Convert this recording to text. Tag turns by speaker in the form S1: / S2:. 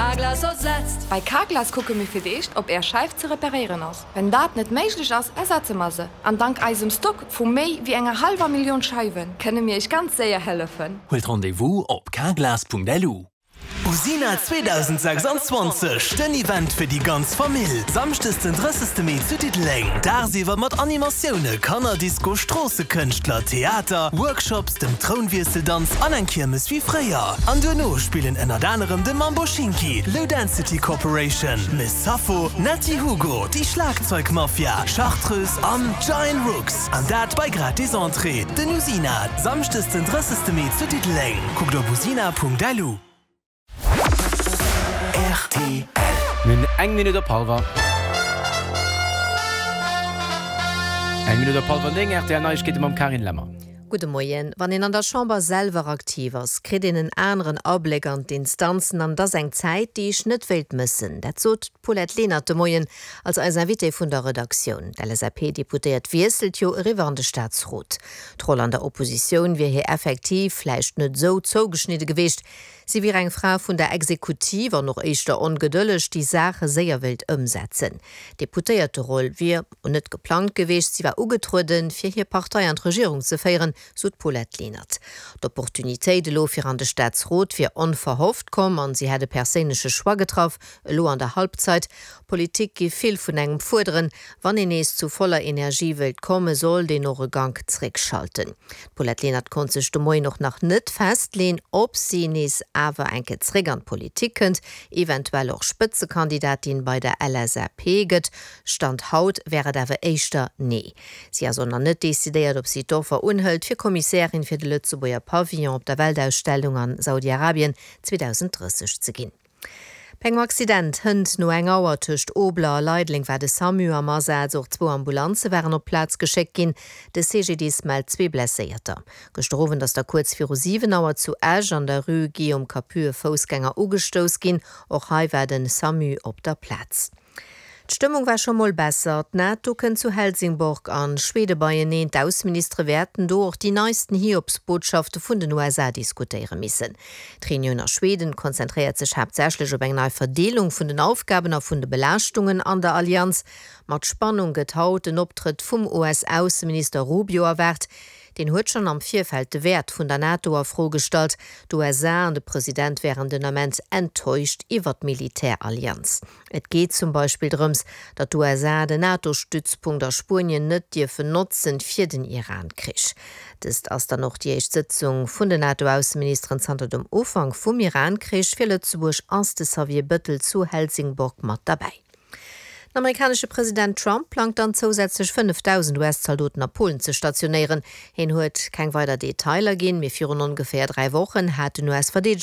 S1: Carglass ersetzt.
S2: Bei Carglass kucke mir fir d'éischt, ob Är Scheif ze reparéieren ass. Wenn dat net méiglech ass, ersetze mer se. An dank eisem Stock vu méi wéi enger hallwer Millioun Scheiwe kënne mir Iech ganz séier hëllefen.
S3: Huelt Rendez-vous op carglass.lu.
S4: Usina 2026, den Event fir déi ganz Famill! Samschdes den 30 Mee zu Diddeleng. Dagsiwwer mat Animatioune, Kannerdisco, Stroossekënschtler, Theater, Workshops, dem Trounwiesseldanz an eng Kiermes wéi fréier. An duerno spillen ënnert anerem de Mambo Schinki, Low Density Corporation, Miss Sappho, Netty Hugo, déi Schlagzeugmafia, Chartreuse an Giant Rooks. An dat bei gratis Entrée. Den Usina, Samschdes den 30 Mee zu Diddeleng. Kuckt op usina.lu.
S3: Rtl. Mir hunn eng Minutt op hallwer. Eng Minutt op hallwer 9, rtl Neiegkeete mam Carine Lemmer.
S5: Gudde Moien. Wann een an der Chamber selwer aktiv ass, kritt een en aneren Abléck an d'Instanzen an et ass eng Zäit, déi ech net wéilt mëssen. Dat sot d'Paulette Lenert de Moien als eis Invitée vun der Redaktioun. D'LSAP-Deputéiert wiesselt jo eriwwer an de Staatsrot. D'Roll an der Oppositioun wier hir effektiv vläicht net esou zougeschnidde geweecht. Si wier eng Fra vun der Exekutiv an och éischter ongedëlleg, déi Saache séier wéilt ëmsetzen. D'Deputéierteroll wier net geplangt geweecht, si war ugetrueden, fir hir Partei an d'Regierung ze féieren, sou d'Paulette Lenert. D'Opportunitéit elo fir an de Staatsrot wier onverhofft komm an si hätt e perséinleche Choix getraff, elo an der Halbzeit. Politik giff vill vun engem fuerderen. Wann een nees zu voller Energie wéilt kommen, sollt een och e Gank zréckschalten. D'Paulette Lenert konnt sech de Moien och nach net festleen, ob si nees awer eng Kéier zréck an d'Politik kënnt, eventuell och Spëtzekandidatin bei der LSAP gëtt. Stand haut wär et awer éischter nee. Si ass och nach net decidéiert, ob si d'Offer unhëlt, fir Kommissärin fir de Lëtzebuerger Pavillon op der Weltausstellung an Saudi-Arabien 2030 ze ginn. Bei engem Accident hënt no eng Auer tëscht Obler a Leideleng war de Samu am Asaz. Och zwou Ambulanze waren op d'Plaz geschéckt ginn. De CGDIS mellt zwee Blesséierter. Gëschter Owend ass da kuerz viru 7 Auer zu Esch an der Rue Guillaume Capus e Foussgänger ugestouss ginn. Och hei war de Samu op der Plaz. D'Stëmmung war scho mol besser. D'NATO kënnt zu Helsingborg an Schwede beieneen. D'Ausseministere wäerten do och déi neisten Hiobsbotschafte vun den USA diskutéiere missen. D'Reunioun a Schweden konzentréiert sech haaptsächlech op eng nei Verdeelung vun den Aufgaben a vun de Belaaschtungen an der Allianz. Mat Spannung gëtt haut den Optrëtt vum US-Ausseminister Rubio erwaart. Deen huet schonn am Virfeld de Wäert vun der NATO a Fro gestallt. D'USA an de President wären den Ament enttäuscht iwwer d'Militärallianz. Et geet zum Beispill drëms, datt d'USA den NATO-Stützpunkt a Spuenien net dierfen notzen fir den Iran-Krich. Dëst ass dann och déi éischt Sëtzung vun den NATO-Ausseministeren zanter dem Ufank vum Iran-Krich. Fir Lëtzebuerg ass de Xavier Bëttel zu Helsingborg mat derbäi. Den amerikanesche President Trump plangt dann zousätzlech 5.000 US-Zaldoten a Polen ze stationéieren. Hien huet keng weider Detailer ginn, mee virun ongeféier 3 Wochen hat den US-Verdeedegungs.